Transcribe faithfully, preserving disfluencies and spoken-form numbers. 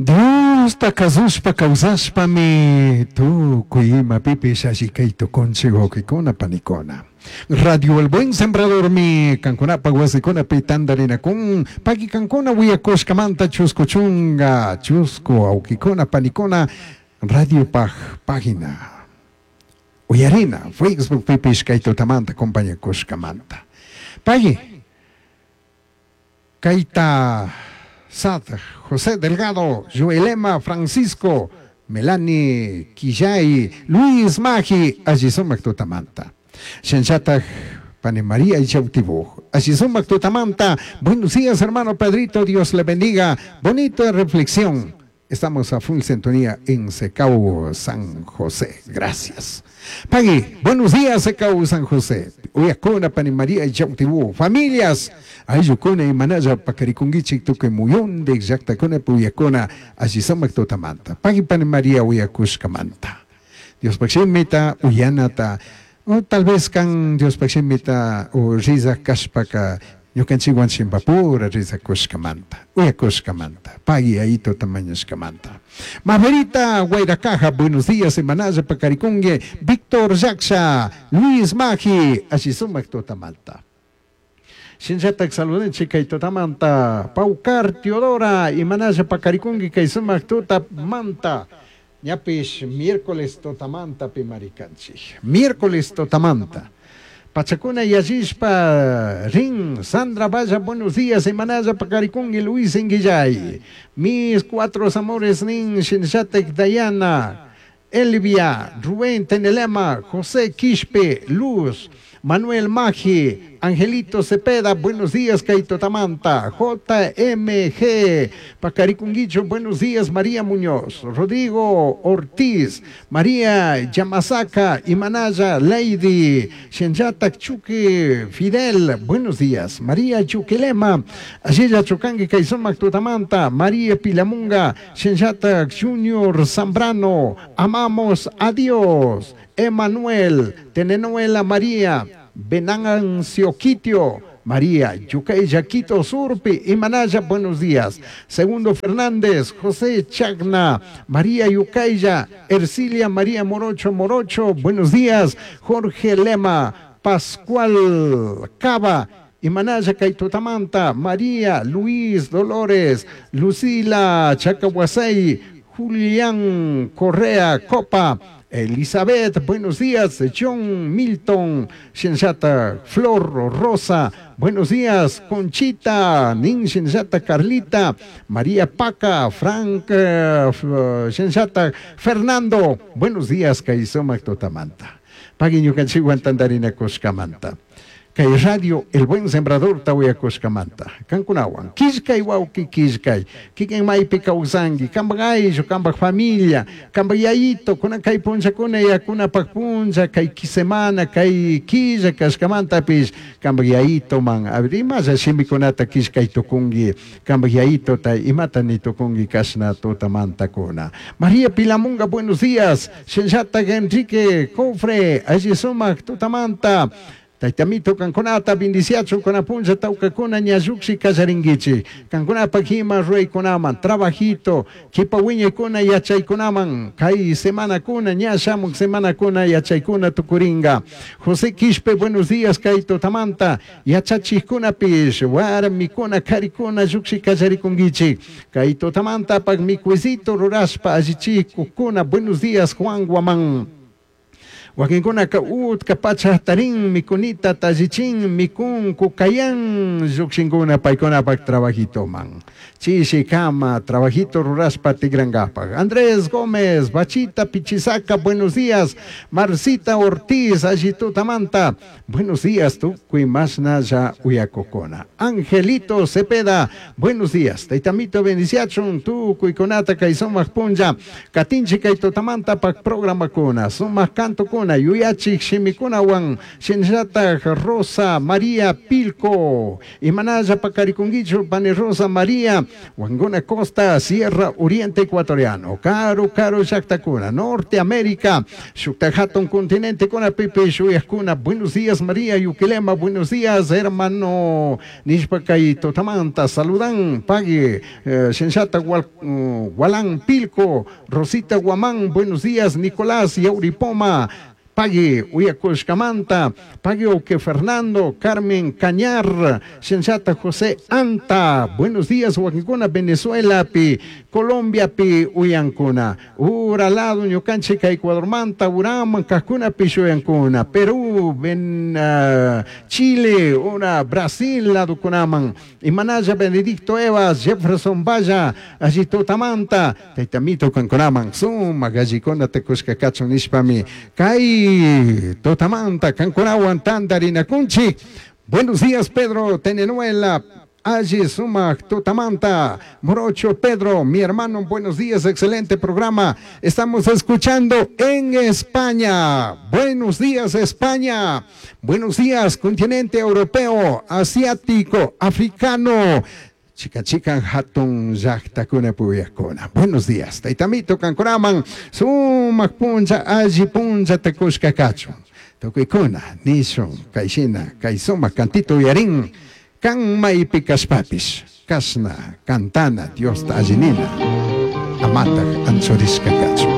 Diosta kasushpa kawsashpami tukuy imapipish alli kay tukunchik wawqikuna panikuna. Radio El Buen Sembradormi kankunapak wasikunapi tantarinakun paki kankuna wiyakushkamanta chusku chunka chusku wawqikuna panikuna radiopaj página uyarina Facebook pipish kay tutamanta compañakushkamanta. Paki kayta Sad, José Delgado, Joelema Francisco, Melanie Quillay, Luis Magi, alli sumak tutamanta. Shinllatak Pani María Yautibuj, alli sumak tutamanta. Buenos días, hermano Pedrito, Dios le bendiga. Bonita reflexión. Estamos a full sintonía en Secau San José. Gracias. Pagui, buenos días, Secau San José. Uyakuna, Pani María Yautibu. Familias, ayllukuna imanalla pakarikunguichik tukuy muyundik llaqtakuna uyakuna alli sumak tutamanta. Pagui Pani María uyakushkamanta. Diospaj shimita uyanata o tal vez kan Diospaj shimita o rizak kashpaka ñukanchikwan chimpapura rizakushkamanta uyakushkamanta pagui ayito tamañashkamanta. Maverita Guairacaja, buenos días, imanalla pakarikungue Víctor Yaksha, Luis Magi, alli sumak tutamanta. Shinllatak saludenchik kay tutamanta Paucar Teodora, imanalla pakarikunki kay sumak tutamanta. Ñapish miércoles tutamanta pimarikanchik. Miércoles tutamanta. Pachakuna yallishpa rin Sandra Valla, buenos días, imanalla pakarikunki Luis Inguillay. Mis cuatro amores nin Shinllatek Dayana, Elvia, Rubén Tenelema, José Quispe, Luz, Manuel Magi, Angelito Cepeda, buenos días, Kaito Tamanta, J M G, Pacaricunguicho, buenos días, María Muñoz, Rodrigo Ortiz, María Yamasaka, Imanaya, Lady, Shenyatak Chuque, Fidel, buenos días, María Chuquelema, Ayella Chucangue, Kaisomac Tutamanta, María Pilamunga, Shenyatak Junior Zambrano, amamos a Dios, Emanuel, Tenenuela María, Benancio Quitio, María, Yucay Yaquito Surpi, Imanaya, buenos días. Segundo Fernández, José Chagna, María Yucaya, Ercilia María Morocho Morocho, buenos días. Jorge Lema, Pascual Cava, Imanaya Kaitotamanta, María Luis Dolores, Lucila Chacahuasey, Julián Correa Copa, Elizabeth, buenos días, John Milton, Shenshata, Flor Rosa, buenos días, Conchita, Nin Shenshata, Carlita, María Paca, Frank, eh, Shenshata, Fernando, buenos días, Kaisoma Totamanta. Pagui ñukanchikwan tantarina kushkamanta. Kay radio El Buen Sembrador tawiyakushkamanta. Kankunawan, killkay wawki killkay, kikin maypi kawsanki, kampak ayllu, kampak familia, kampak yayito, kuna kay punllakuna yakunapak punlla, kay semana, kay killa kashkamantapish, kampak yayito man, a ver, imalla shimikunata killkay tukunki, kampak yayitota imata ni tukunki kashna tutamantakuna. María Pilamunga, buenos días, Shenshata Enrique Cofre, alli sumak tutamanta. Taytamito kankunata bendiciacho kunapunlla tawkakuna ñalluksi kallarinkichik kankunapak ima ruraykunaman trabajito kipa wiñaykuna yachaykunaman kay semanakuna ña shamuk semanakuna yachaykuna tukuringa. José Quispe, buenos días, kay tutamanta yachachikkunapish warmikuna karikuna lluksi kallarikunkichik kay tutamantapak mikuysito rurashpa allichikukuna. Buenos días, Juan Guamán. Wakinkunaka utka pacha tarin mikunita tallichin mikun kukayan llukshinkuna paykunapak trabajitoman. Chishi kama trabajito rurashpa tigrangapak. Andrés Gómez, Bachita Pichisaca, buenos días. Marcita Ortiz, allitutamanta. Buenos días, tukuy masna ya uyakokona. Angelito Cepeda, buenos días. Taitamito bendiciachun, tukuy kunata kay sumak punlla. Katinchi kay tutamanta pak programa kuna. Sumak canto kuna. shimikuna, yuyachik shimikunawan, shinallatak Rosa María Pilco, imanalla pakarikunkichu pani Rosa María, Wanguna Costa, Sierra Oriente Ecuatoriano, Karu Karu llaktakuna, Norte América, shukta hatun continente kuna pipish uyakuna, buenos días María Yuquilema, buenos días hermano, nishpa kay tutamanta, saludan, pagui, eh, shinshata Wal, uh, Walán Pilco, Rosita Guamán, buenos días Nicolás Yauripoma, Pagui Uyakushkamanta, Pagui Oque Fernando, Carmen Cañar, Shenshata José Anta, buenos días Huaquincuna, Venezuela, pi, Colombia, pi, Uyancuna, Uralado, Ñucanchica, Ecuador Manta, Uram, Cacuna, pi, Shuyancuna, Perú, Ben, uh, Chile, Ura, Brasil, Laducunaman, Imanaya, Benedicto Evas, Jefferson Valla, Allitutamanta, Taitamito, Cancunaman, Suma, Gallicona, Tecusca, Cachon, Nishpami, Kai, Totamanta, Cancunawan, Tandarinakunchi. Buenos días, Pedro Tenenuela. Allí Sumac, Totamanta, Morocho Pedro, mi hermano, buenos días, excelente programa. Estamos escuchando en España. Buenos días, España. Buenos días, continente europeo, asiático, africano. Chica chica hatun llaqtakuna puyakuna. Buenos días. Taytamito kankunaman sumaq puncha alli puncha tukushka kachun. Tukuykuna nishun kayshina kay sumaq cantito uyarin kan maypi kashpapis kashna cantana Diosta allinina amataq anchurishka kachun.